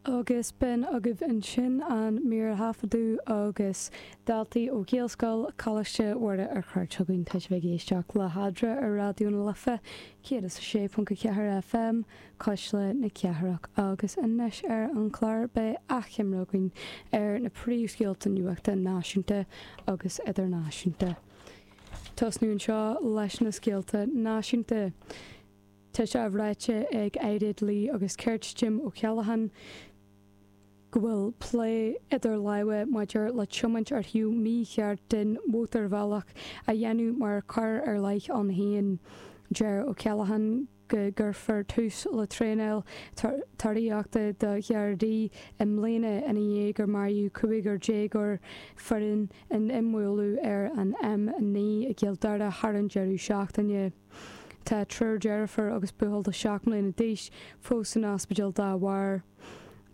Agus b'in agaibh ansin an mír a thaifeadadh agus daltaí ó Ghaelscoil Choláiste Mhuire ar cuairt chugainn. Tá sibh ag éisteacht le hEadra ar Raidió na Life 106.4 FM, Cuisle na Cathrach. Agus anois ar an chlár beidh achoimre againn ar na príomhscéalta nuachta náisiúnta agus idirnáisiúnta. Tosnú anseo leis na scéalta náisiúnta. Tá sé ráite ag Aire Dlí agus Cirt Jim O'Callaghan go bhfuil plé idir lámha maidir le tiomáint ar thaobh mícheart den mhótarbhealach a dhéanamh mar choir ar leith ann féin. Deir O'Callaghan go gcuirfear tús le traenáil treoraíochta do Ghardaí i mbliana ina dhiaidh gur maraíodh cúigear déagóir fireann in imbhualadh ar an M9 i gCill Dara thar an deireadh seachtaine. Tá triúr deirfiúr agus buachaill de 7 mbliana d'aois fós san ospidéal dá bharr.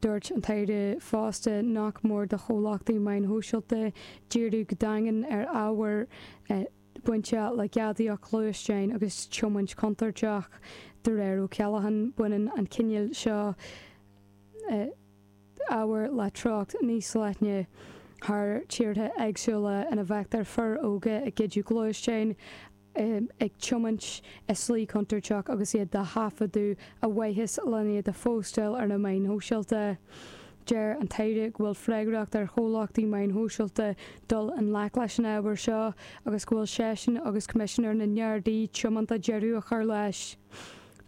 Dúirt an tAire fosta nach mór do chomhlachtaí meáin shóisialta díriú go daingean ar ábhar bainteach le gadaíocht gluaisteáin agus tiomáint chontúirteach. De réir O'Callaghan, baineann an cineál seo ábhair le treocht níos leithne thar tíortha éagsúla ina bhfeictear fir óga ag goideadh gluaisteáin, ag tiomáint i slí chontúirteach agus iad á thaifeadadh ar mhaithe lena iad a phóstáil ar na meáin shóisialta. Deir an tAire go bhfuil freagracht ar chomhlachtaí meáin shóisialta dul i ngleic leis an ábhar seo agus go bhfuil seisean agus Coimisinéir na nGardaí tiomanta deireadh a chur leis.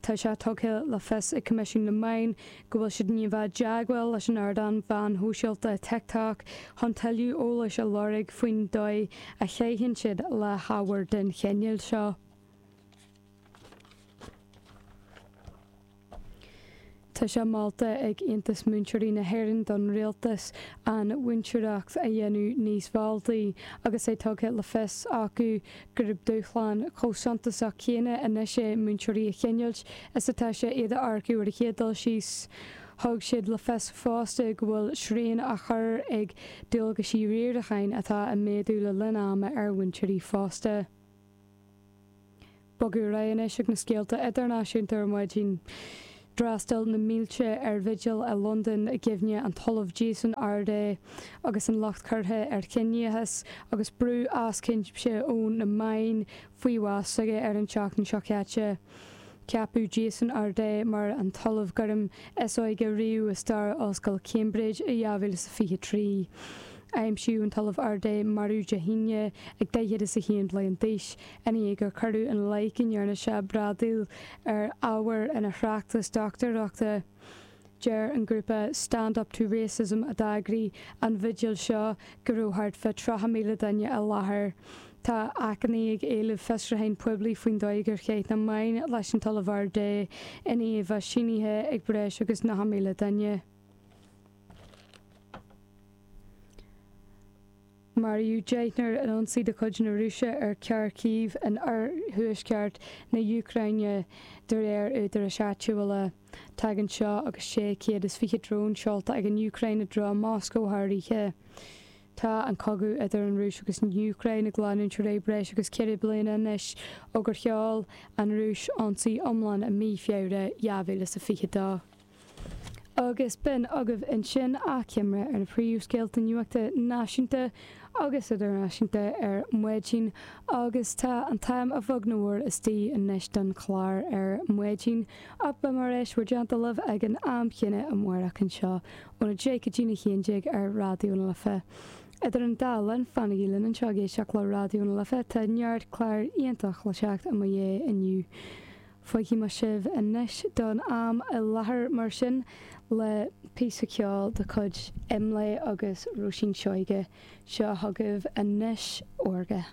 Tá sé tugtha le fios ag Coimisiún na Meán go bhfuil siad i ndiaidh bheith i dteagmháil leis an ardán mheáin shóisialta TikTok chun tuilleadh eolais a lorg faoin dóigh a chaitheann siad le hábhar den chineál seo. Tá sé molta ag Aontas Múinteoirí na hÉireann don Rialtas an mhúinteoireacht a dhéanamh níos mealltaí agus é tugtha le fios acu gurb dúshlán chomh suntasach céanna anois é múinteoirí a choinneáilt is atá sé iad a earcú ar an chéad dul síos. Thug siad le fios fosta go bhfuil srian á chur ag dualgaisí riaracháin atá ag méadú le linn ama ar mhúinteoirí fosta. Bogadh ar aghaidh anois chuig na scéalta idirnáisiúnta ar maidin. D'fhreastail na mílte ar bhigil i Londain i gcuimhne an tOllamh Jason Arday agus an locht curtha ar chiníochas agus brú as cuimse ó na meáin faoi bhás s'aige ar an tseachtain seo caite. Ceapadh Jason Arday mar an tOllamh Gairm is óige riamh i stair Ollscoil Cambridge i 2023. Aimsíodh an tOllamh Arday marbh Dé hAoine ag 41 bliain d'aois ina dhiaidh gur cuireadh ina leith go ndearna sé bradaíl ar ábhar ina thráchtas dochtúireachta. Deir an grúpa Stand Up To Racism a d'eagraigh an bhigil seo go raibh thart fá 30,000 duine i láthair. Tá achainí ag éileamh fiosrúcháin poiblí faoin dóigh gur chaith na meáin leis an tOllamh Arday i ndiaidh a bheith sínithe ag breis agus 90,000 duine. Maraíodh deichniúr in ionsaí de chuid na Rúise ar Kharkiv in oirthuaisceart na hÚcráine, de réir údaráis áitiúla. Tagann seo agus 620 drón seolta ag an Úcráin i dtreo Moscó thar oíche. Tá an cogadh idir an Rúis agus an Úcráin ag leanúint ar aghaidh breis agus ceithre bliana anois ó gur sheol an Rúis ionsaí iomlán i mí Feabhra 2022. Agus b'in agaibh ansin achoimre ar na príomhscéalta nuachta náisiúnta agus idirnáisiúnta ar maidin agus tá an t-am a bheag nó a mhór istigh anois don chlár ar maidin ach beidh mé ar ais bhur dteannta libh ag an am chéanna amárach anseo óna 10 go dtína 11 ar Raidió na Life. Idir an dá linn, fanaigí linn anseo ag éisteacht le Raidió na Life, tá neart clár iontach le teacht i mo dhiaidh inniu. Fágfaidh mé sibh anois don am i láthair mar sin le píosa ceoil de chuid Imlé agus Róisín Seoige. Seo chugaibh anois Órga.